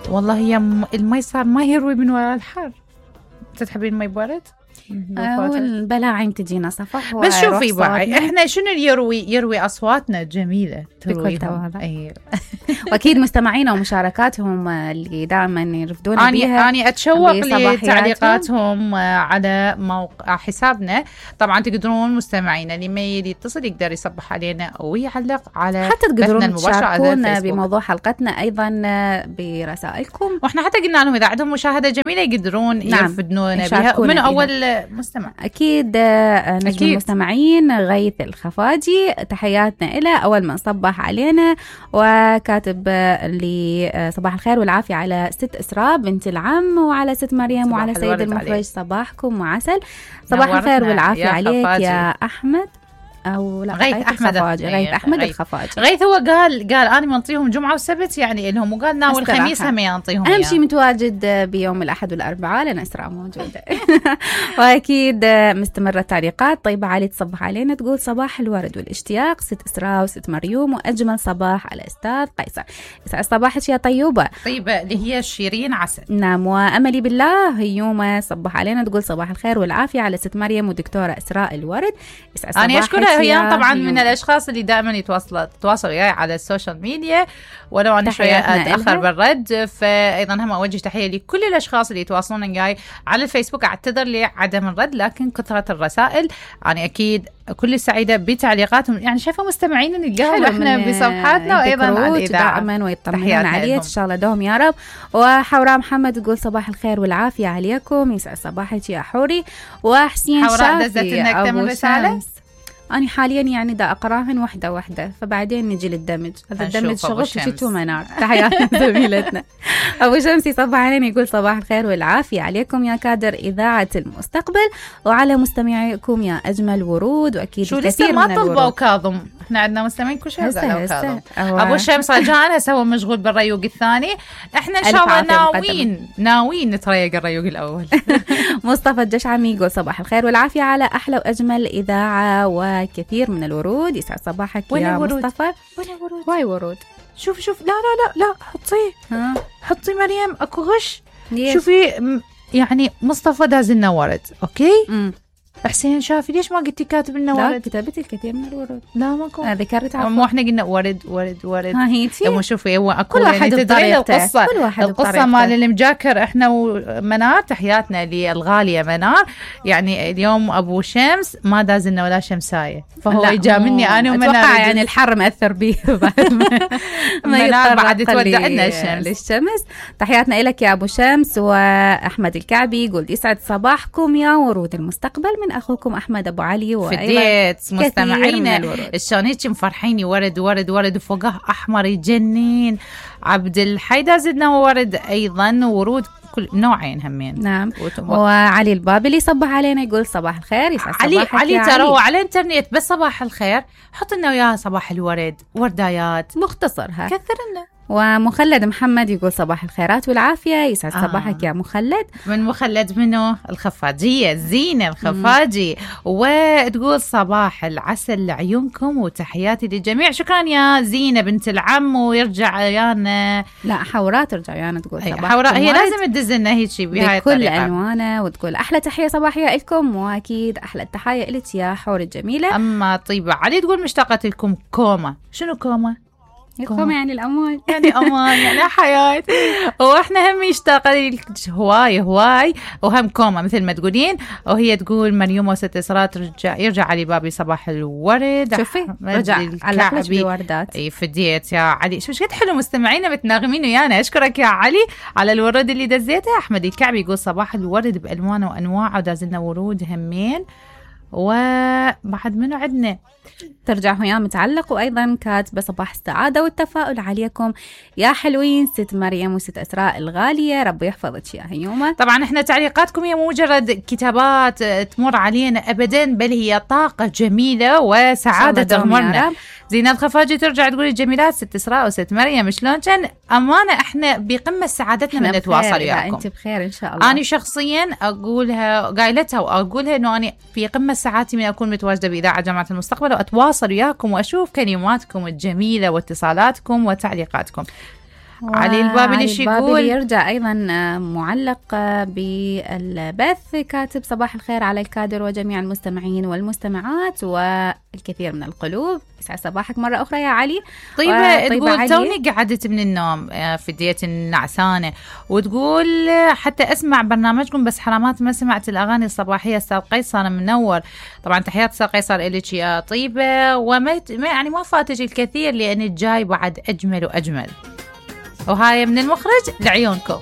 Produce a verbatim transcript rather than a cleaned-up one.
والله هي المي صار ما يروي من وراء الحر. تحبين المي بارد؟ والبلاعم تجينا صفح. بس شوفي بقى احنا شنو يروي يروي اصواتنا جميله ترويهم. ايوه واكيد مستمعينا ومشاركاتهم اللي دائما يرفدون أني بيها. انا اتشوق لتعليقاتهم على موقع حسابنا. طبعا تقدرون مستمعينا اللي ما يريد يتصل يقدر يصبح علينا او يعلق على حتى تقدرون تشاركونا بموضوع حلقتنا ايضا برسائلكم. واحنا حتى قلنا لهم اذا عندهم مشاهده جميله يقدرون نعم. يرفدونا بها من اول مستمع. أكيد نجم المستمعين غيث الخفاجي تحياتنا إلى أول ما صبح علينا وكاتب لي صباح الخير والعافية على ست إسراء بنت العم وعلى ست مريم وعلى سيد المخرج صباحكم وعسل. صباح الخير والعافية يا عليك خفاجي. يا أحمد أو لا غيث أحمد الخفاجي. غيث أحمد غيث. الخفاجي. غيث هو قال قال أنا منطيهم جمعة وسبت يعني لهم وقال ناول الخميس هم ينطيهم. أهم شيء متواجد بيوم الأحد والأربعاء لأن إسراء موجودة. وأكيد مستمرة التعليقات. طيبة علي تصبح علينا تقول صباح الورد والاشتياق ست إسراء وست مريوم وأجمل صباح على أستاذ قيصر. يسعد صباحك يا طيوبة. طيبة اللي هي شيرين عسل. نعم. وأملي بالله هيومة صبح علينا تقول صباح الخير والعافية على ست مريم ودكتورة إسراء الورد. يسعد صباحك. أنا أشكرها هي طبعا من الأشخاص اللي دائما يتواصلوا تواصلوا وياي على السوشيال ميديا ولو أنا شوية أتأخر بالرد. فأيضا هم أوجه تحية لكل الأشخاص اللي يتواصلون وياي على الفيسبوك. أعتذر لعدم الرد لكن كثرة الرسائل أنا أكيد كل سعيدة بتعليقاتهم. يعني شايفة مستمعين نلقاهم احنا بصفحاتنا وأيضا على الإذاعة دائما ويطمنون عليك إن شاء الله دوم يا رب. وحوراء محمد تقول صباح الخير والعافية عليكم. يسعد صباحك يا حوري. وحسين حوراء دزت لنا أكثر من رسالة. أنا حاليا يعني دا أقراهن واحدة واحدة فبعدين نجي للدمج. هذا الدمج شغل شتو منار. تحياتنا زميلتنا أبو شمس يصبح علينا يقول صباح الخير والعافية عليكم يا كادر إذاعة المستقبل وعلى مستمعيكم يا أجمل ورود. وأكيد شو لسه ما طلبوا كاظم. احنا عندنا مستمعين كل شيء قالوا كاظم. أبو شمس رجعنا سوى مشغول بالريوق الثاني. احنا إن شاء الله ناويين ناويين نتريق الريوق الأول. مصطفى الجشعمي يقول صباح الخير والعافية على أحلى وأجمل إذاعة و كثير من الورود. يسعد صباحك يا ورود. مصطفى. وين ورود؟ واي ورود. شوف شوف لا لا لا لا حطيه ها حطي مريم اكو غش. ليش؟ شوفي يعني مصطفى داز لنا ورد. اوكي امم حسين شافي ليش ما قلتي كاتب لنا ورد؟ لا كتبت الكثير من الورود. لا ماكو. ذكرت مو احنا قلنا ورد ورد ورد. ها هيتي مو شوفي هو اكو كل واحد يعني تدرين القصه كل واحد القصه مال المجاكر. احنا ومنار تحياتنا للغاليه منار. يعني اليوم ابو شمس ما داز لنا ولا شمسايه فهو يجاملني انا ومنار. اتوقع يعني الحر مأثر به منار بعد تودع لنا الشمس للشمس. تحياتنا لك يا ابو شمس. واحمد الكعبي يقول يسعد صباحكم يا ورود المستقبل من اخوكم احمد ابو علي. فديت مستمعينا شلون هيك مفرحيني ورد ورد ورد وفوقه احمر يجنين. عبد الحي دازدنا ورد ايضا ورود كل نوعين همين. نعم. وعلي البابلي يصبح علينا يقول صباح الخير. يسعد علي علي ترى هو على الانترنت بس صباح الخير حط لنا وياها صباح الورد وردايات مختصرها كثر لنا. ومخلد محمد يقول صباح الخيرات والعافية. يسعد آه. صباحك يا مخلد. من مخلد منه الخفاجية زينة الخفاجي. وتقول صباح العسل لعيونكم وتحياتي للجميع. شكرا يا زينة بنت العم. ويرجع يانا لا حوراء ترجع يانا تقول صباح حوراء هي لازم تدزلنا هيك شيء بهاي بكل ألوانه وتقول أحلى تحية صباحية لكم. وأكيد أحلى التحية لك يا حور الجميلة. أما طيبة علي تقول مشتاقة لكم كوما. شنو كوما؟ كوما يعني الأمان يعني أمان يعني حياة. وإحنا هم مشتاقة هواي هواي وهم كوما مثل ما تقولين. وهي تقول مريم وست إسراء ترجع يرجع علي بابي صباح الورد. شوفي رجع على بوردات. اي فديت يا علي. شو قد حلو مستمعينا متناغمين ويانا. أشكرك يا علي على الورد اللي دزيته. أحمد الكعبي يقول صباح الورد بألوانه وأنواعه ودازلنا ورود همين. وبعد منو عندنا ترجع هيا متعلق وأيضا كاتبة صباح السعادة والتفاؤل عليكم يا حلوين ست مريم وست أسراء الغالية. ربي يحفظك يا هيومة. طبعا احنا تعليقاتكم هي مو مجرد كتابات تمر علينا أبدا بل هي طاقة جميلة وسعادة تغمرنا. زينة الخفاجي ترجع تقول الجميلات ست إسراء وست مريم شلون كان. أمانة احنا بقمة سعادتنا من نتواصل وياكم. انت بخير ان شاء الله. أنا شخصيا أقولها قايلتها وأقولها إنه أنا في قمة سعادتي من أكون متواجدة بإذاعة جامعة المستقبل وأتواصل وياكم وأشوف كلماتكم الجميلة واتصالاتكم وتعليقاتكم. علي البابلي شو يقول؟ يرجع أيضا معلق بالبث كاتب صباح الخير على الكادر وجميع المستمعين والمستمعات والكثير من القلوب. يسعد صباحك مرة أخرى يا علي. طيبة تقول توني قعدت من النوم في ديت النعسانة، وتقول حتى أسمع برنامجكم بس حرامات ما سمعت الأغاني الصباحية. أستاذ قيصر منور. طبعا تحيات أستاذ قيصر إليك يا طيبة، وما يعني ما فاتك الكثير لأن الجاي بعد أجمل وأجمل. وهاي من المخرج لعيونكم.